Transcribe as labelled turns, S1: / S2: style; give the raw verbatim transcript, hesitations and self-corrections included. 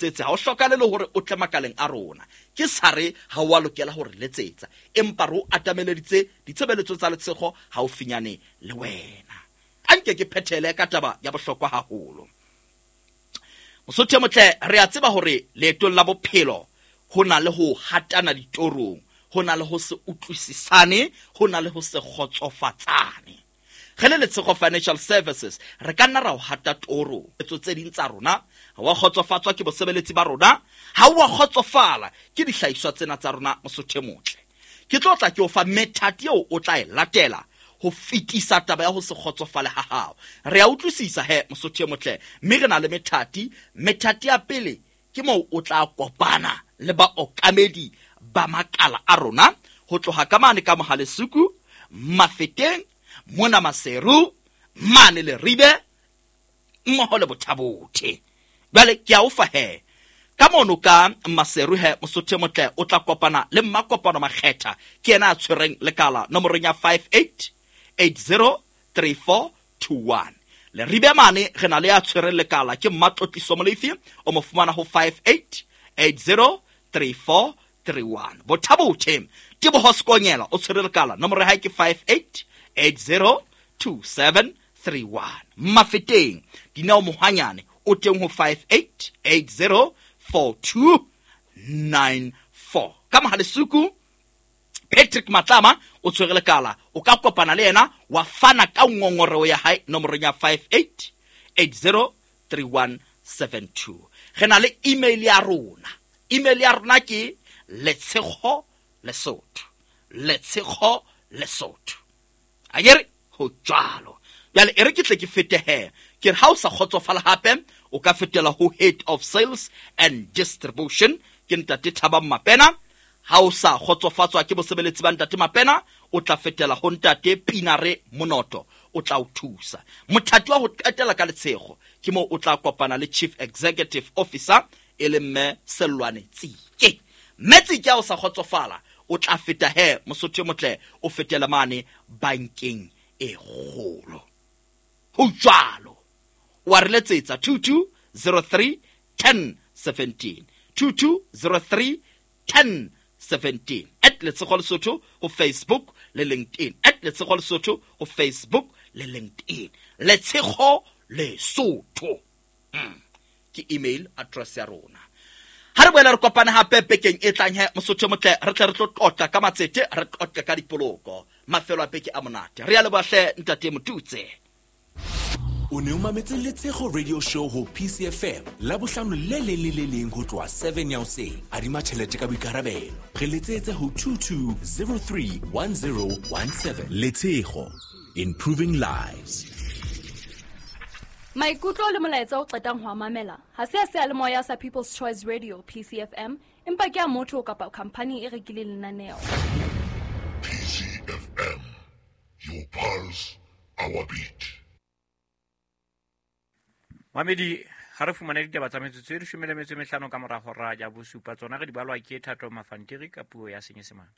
S1: Tsetse ha o hlokale le hore o tle makaleng a rona. Ke sa re ha o a lokela hore letsetsa, empa re o atameleditse ditshebeletso tsa Letshego haufinyane le wena. A nke ke phethele ka taba ya bohlokwa haholo. Mosotho e motle, re a tseba hore leetong la bophelo ho na le ho hatana ditorong, ho na le ho se utlwisisane, ho na le ho se kgotsofatsane. Re le Letshego Financial Services re ka nna ra o hata toro etso tse ding tsa rona, ha wa kgotsofatswa ke bosebeletsi ba rona, ha wa kgotsofala ke dihlahiswa tsena tsa rona. Mosotho e motle, ke tlo tla ke o fa methati eo o tla e latela ho fetisa taba ya ho se kgotsofale ha hao. Re a utlwisisa he mosotho e motle, mme re na le methati. Methati ya pele ke moo o tla kopana le baokamedi ba makala a rona ho tloha ka mane ka Mohalesuku, Mafeteng, mona Maseru, mane Leribe, mmoho le Bothabothe. Jwale ke a o fa he ka mono ka Maseru he mosotho e motle, o tla kopana le Mmakopano Makgetha, ke yena a tshwereng lekala nomorong ya five eight eight zero three four two one. Leribe mane re na le ya tshwereng lekala ke Mmatlotliso Molefi, o mo fumana ho five eight eight zero three four three one. Bothabothe Teboho Sekonyela o tshwere lekala, nomoro ya hae ke five eight eight zero two seven three one. Mafeteng Dineo Mohwanyane o teng ho five eight eight zero four two nine four. Ka Mohalesuku Patrick Matlama o tshwere lekala, o ka kopana le yena wa fana ka ngongoreo ya hae nomorong ya five eight eight zero three one seven two. Re na le email ya rona. Email ya rona ke Letshego Lesotho, Letshego Lesotho. Akere ho jwalo. Jwale e re ke tle ke fete he, ke re ha o sa kgotsofala hape o ka fetela ho Head of Sales and Distribution ke Ntate Thabang Mapena. Ha o sa kgotsofatswa ke bosebeletsi ba Ntate Mapena, o tla fetela ho Ntate Pinare Monoto, o tla o thusa. Mothati wa ho qetela ka Letshego ke moo o tla kopana le Chief Executive Officer e le Mme Sellwane Tsike. Mme Tsike ha o sa kgotsofala o tla feta he mosotho e motle, o fetela mane bankeng e kgolo. Ho jwalo. Wa re letsetsa two two zero three ten seventeen, two two zero three ten seventeen. At Letshego Lesotho ho Facebook le LinkedIn. At Letshego Lesotho ho Facebook le LinkedIn. Letshego Lesotho. Mm. Ke email address ya rona. Ha re boela re kopane hape bekeng e tlang he mosotho motle, re tle re tlo tlotla ka matsete, re tlotle ka dipoloko. Mafelo a beke a monate. Re a leboha hle Ntate Motutse.
S2: O ne o mametse Letshego Radio Show ho P C F M la bohlano le leng le le leng ho tloha seven ya hoseng. Adima tjhelete ka boikarabelo. Re letsetse ho two two zero three one zero one seven. Letshego, improving lives.
S3: Maikutlo le molaetsa o qetang ho a mamela ha se a seyalemoya sa People's Choice Radio P C F M, empa ke a motho kapa khampani e rekileng lenaneo.
S4: P C F M, your pulse, our beat.
S5: Mamedi, ha re fumane ditaba tsa metsotso e leshome le metso e mehlano ka mora hora ya bosupa, tsona re di balwa ke Thato Mafantiri ka puo ya Senyesemane.